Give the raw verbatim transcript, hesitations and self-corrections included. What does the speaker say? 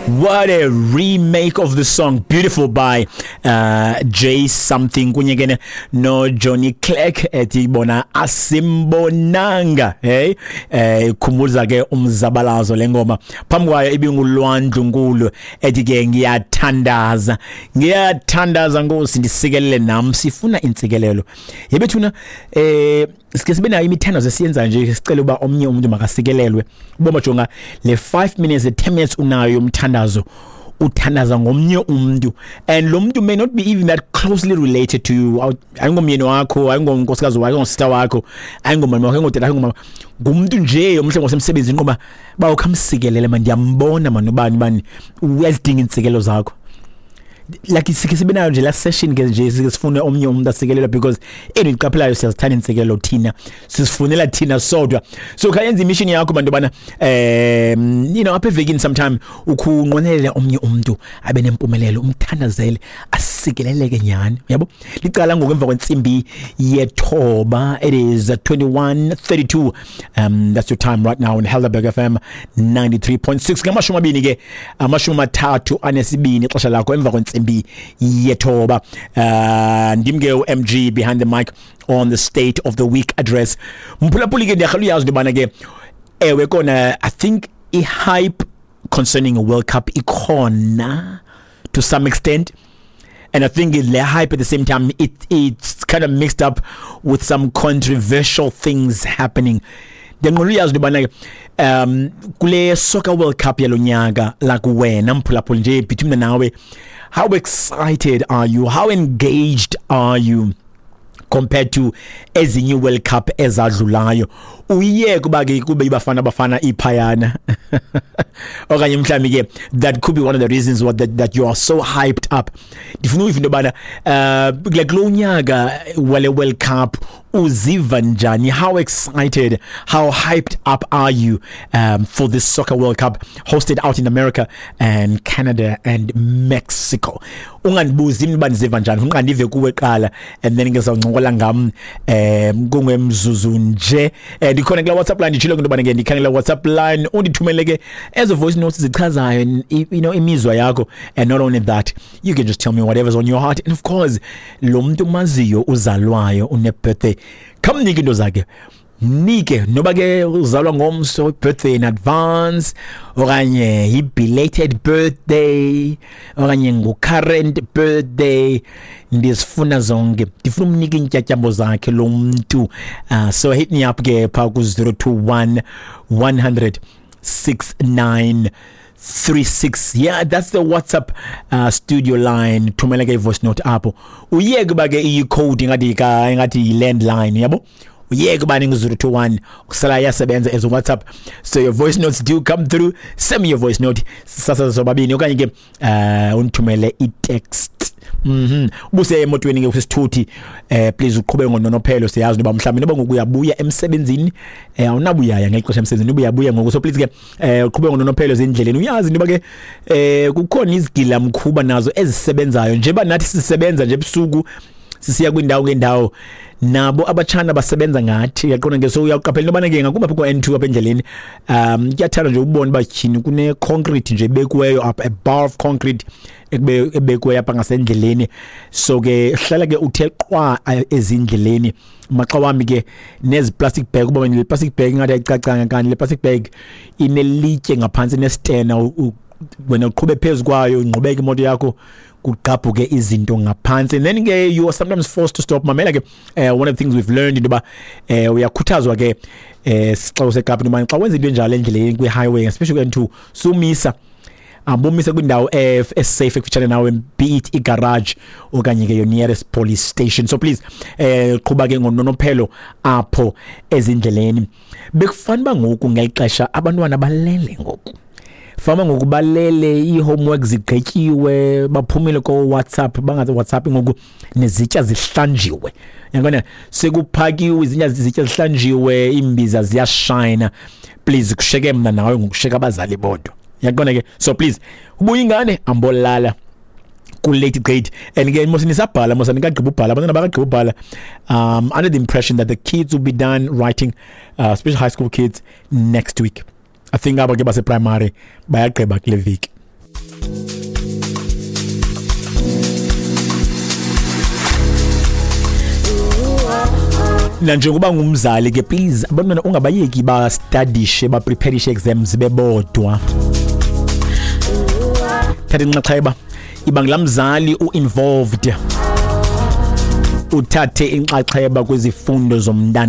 What a remake of the song Beautiful by uh, Jay something kunye ke no Johnny Clegg ethi bona asimbonanga. Hey, eh ikhumbuza ke umzabalazo lengoma. Phambi kwayo ibinguLwah Ndlunkulu ethi ke ngiyathandaza, ngiyathandaza Nkosi ndisikelele nam. Sifuna intsikelelo yebethuna. eh sike sibe nayo imithandazo esiyenza nje, sicela uba omnye umuntu makasikelelwe. Uboma jonga le five minutes, le ten minutes unayo umthandazo, uthandaza ngomnye umuntu, and lo muntu may not be even that closely related to you. Ayingomyeni wakho, ayingonkosikazi wakho, ayingosister wakho, ayingomama wakho, ayingotata, ayingomama, ngumuntu nje omhle ngosemsebenzini ngoba ba ukhamsikelele man, ndiyambona man, ubani bani uyazidinga intsikelelo zakho. Like sike sibe nayo nje la session ke nje, sike sifune omnye umuntu asikelelwa, because endiqaphelayo siyazithanda intsikelelo thina, sisifunela thina sodwa. So khayenza imission yakho bantu bana, um you know apha evekini sometime ukhunqwenelele omnye umuntu abe nempumelelo, umthandazele asikeleleke nyani, yabo. Licala ngoku emva kwentsimbi yethoba. It is twenty-one thirty-two. um that's your time right now in Helderberg F M ninety-three point six. Ngamashumi amabini ke, amashumi amathathu anesibini ixesha lakho emva kwentsimbi yethoba. uh ndim ke u-M G behind the mic on the State of the Week Address. Mphulaphuli ke, ndiyarhala uyazi into yobana ke, ewe kona, I think i-hype concerning a World Cup ikhona to some extent, and I think the hype at the same time, it it's kind of mixed up with some controversial things happening. Ndiyaqonda uyazi into yobana um kule Soccer World Cup yalo nyaka, like wena mphulaphuli nje, between nawe, how excited are you, how engaged are you compared to ezinye World Cup ezadlulayo? Uye kuba ke kube ibafana bafana iphayana, okanye mhlawumbi ke that could be one of the reasons what that, that you are so hyped up. Ndifuna uyiva into yobana uh like lo nyaka wale World Cup uziva njani, how excited, how hyped up are you um, for this Soccer World Cup hosted out in America and Canada and Mexico? Ungandibuzi uba ndiziva njani, ufuna ndive kuwe qala and then ke sawuncokola ngam um kungemzuzu nje. eh ndikhona kula WhatsApp line, nditshilo into yobana ke ndikhangela WhatsApp line, undithumele ke ezo voice notes zichazayo you know imizwa yakho. And not only that, you can just tell me whatever's on your heart. And of course, lo muntu umaziyo uzalwayo, une-birthday, khamnike into zakhe, mnike noba ke uzalwa ngomso, birthday in advance okanye i-belated birthday okanye ngu-current birthday, ndizifuna zonke, ndifuna umnika iintyatyambo zakhe lo mntu. uh, so hit me up ke phaa ku-zero two one one hundred six nine three six. Yeah, that's the WhatsApp uh, studio line. Thumela ke i-voice note apho, uyeke uba ke iyi-code ingathi ka ingathi yi-landline, yabo, uyeke uba ningu-zero two one kusala iyasebenza as WhatsApp. So your voice notes do come through. Send me your voice note sasa sobabini, okanye ke uh undithumele i-text. Mhm. Ubuse emotweni ke, usisithuthi, eh please uqhube ngononophelo. Siyazi noba mhlawumbe noba ngoku uyabuya emsebenzini, eh awunabuyaya ngexesha emsebenzini, ubuyabuya ngoku, so please ke eh uqhube ngononophelo ezindleleni. Uyazi noba ke eh kukhona izigila mkhuba nazo ezisebenzayo, njengoba nathi sisebenza nje ebusuku sisiya kwindawo ngendawo, nabo abatshana basebenza ngathi, uyaqonda ke. So uyaqaphela into yobana ke ngakumbi apha ko-N two apha endleleni, um kuyathanda nje ukubona uba tyhini kune-concrete nje ebekiweyo apha, a bar of concrete ekube- ebekiweyo apha ngasendleleni. So ke hlala ke uthe qwa eh, ezindleleni. Maxa wambi ke nezi plastic bag, uba le plastic bag ingathi ayicacanga, kanti le plastic bag inelitye ngaphantsi, nesitena, u- u- wena uqhube phezu kwayo, ingqubeka imoto yakho, kugqabhuke izinto ngaphantsi, and then ke you are sometimes forced to stop. Mamela ke, uh, one of the things we've learned into yoba eh uyakhuthazwa ke eh xa useKapa into yobana xa wenza into enjalo endleleni kwi-highway, especially kwi-N two, sumisa, ambomisa kwindawo eh, esafe ekufutshane nawe, be it igarage okanye ke your nearest police station. So please eh qhuba ke ngononophelo apho ezindleleni. Bekufanele uba ngoku ngeli xesha abantwana balele ngoku, fama ngoku balele, ii-homework zigqityiwe, baphumile ko-WhatsApp, bangazi WhatsApp ngoku, nezitya zihlanjiwe, yabona, sekuphakiwe izitya, izitya zihlanjiwe, iimbiza ziyashayina. Please, kusheke mna nawe ngokusheka abazali bodwa, yaqonda ke. So please, ubuya ingane ambolala ku-late grade, and ke mos nisabhala, mos anikagqiba ubhala, abantwana bakagqiba ubhala. um under the impression that the kids will be done writing, uh, especially high school kids, next week. I think aba ke baseprimary bayagqiba kule veki. Nanjengoba ngumzali ke, please, abantwana ungabayeki bastadishe, bapreparishe exams bebodwa. Thatha inxaxheba, iba ngulaa mzali u-involved, uthathe inxaxheba kwizifundo zomntana.